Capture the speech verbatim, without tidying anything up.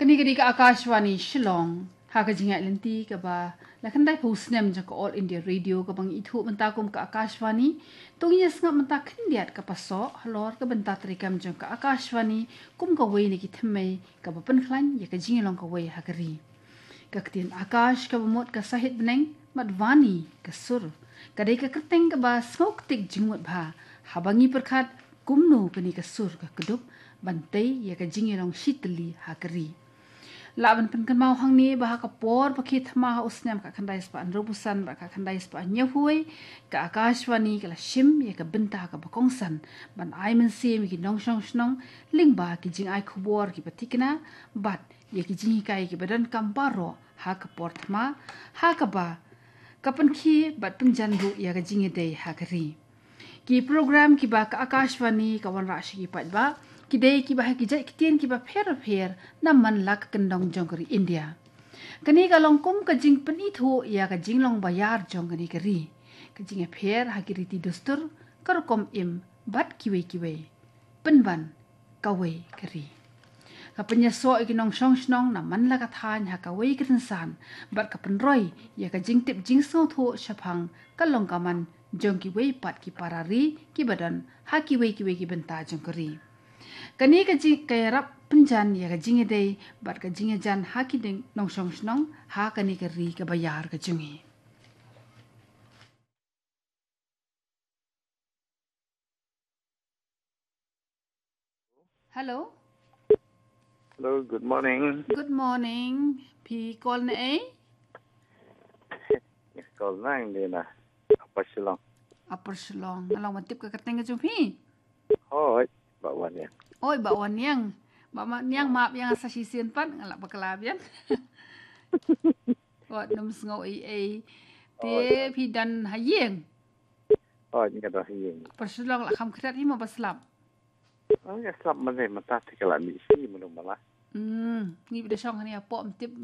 Kane ka dei ka Akashvani Shillong. Ha ka jingïaid lynti kaba la khyndai phew snem jong ka All India Radio kaba ngi ithuh mynta kum ka Akashvani. To ngin ïa sngap mynta khyndiat ka pasoh halor ka bynta treikam jong ka Akashvani kum kawei na ki thymmei kaba pynkhlaiñ ïa ka jingïalong kawei ha ka ri. Ka ktien Akash kaba mut ka sahit bneng, bad Vani ka sur. Ka dei ka kyrteng kaba sngewktiek jingmut bha haba ngi pyrkhat kumno kane ka sur ka kdup ban tei ïa ka jingïalong shitylli ha ka ri. Lah ban pynkynmaw hangne ba ha ka por ba khie thma ha u snem khatkhyndai spah hynriewphew san bad khatkhyndai spah hynñiewphew wei, ka Akashvani ka la shim ïa ka bynta kaba kongsan ban ai mynsiem ïa ki nongshong shnong lyngba ki jingai khubor kiba thikna bad ïa ki jinghikai kiba donkam baroh ha ka por thma, ha kaba ka pynkhie bad pynjan ruh ïa ka jingïadei ha ka ri. Ki program kiba ka Akashvani ka wanrah sha ki paidbah ki dei kiba ha ki jait ktien kiba pher bapher na man la ka kyndong jong ka ri India. Kane ka long kum ka jingpynithuh ïa ka jinglong baïar jong kane ka ri, ka jingïapher ha ki riti dustur, ka rukom im bad kiwei kiwei. Pynban kawei ka ri. Ka pynïasoh ïa ki nongshong shnong na man la ka thaiñ ha kawei ka rynsan bad ka pynroi ïa ka jingtip jingsngewthuh shaphang ka long ka man jong kiwei pat ki para ri kiba don ha kiwei kiwei ki bynta jong ka ri. Kane ka jing, ka ïarap pynjan ïa ka jingïadei bad ka jingïajan ha ki ding nongshong shnong ha kane ka ri kaba ïar ka jong ngi. Hello. Hello, good morning. Good morning. Phi call na ei? Yes, call na ei na Upper Shillong. Upper Shillong. Nga long ban tip ka kyrteng ka jong phi? Hoi, Bah Wan Niang. Oi, Bah Wan Niang. Bah Wan Niang, map ïa nga sa shisien pat, nga lah bakla biang. Wat nym sngew ei ei. Te phi don ha ïing? Hoi, nga don ha ïing. Upper Shillong la kham khriat hi mo ba slap? Oh, nga slap mynne mynta te ka la mih shi mynno mynno. Hmm, ngi ba da shong hangne hapoh ym tip.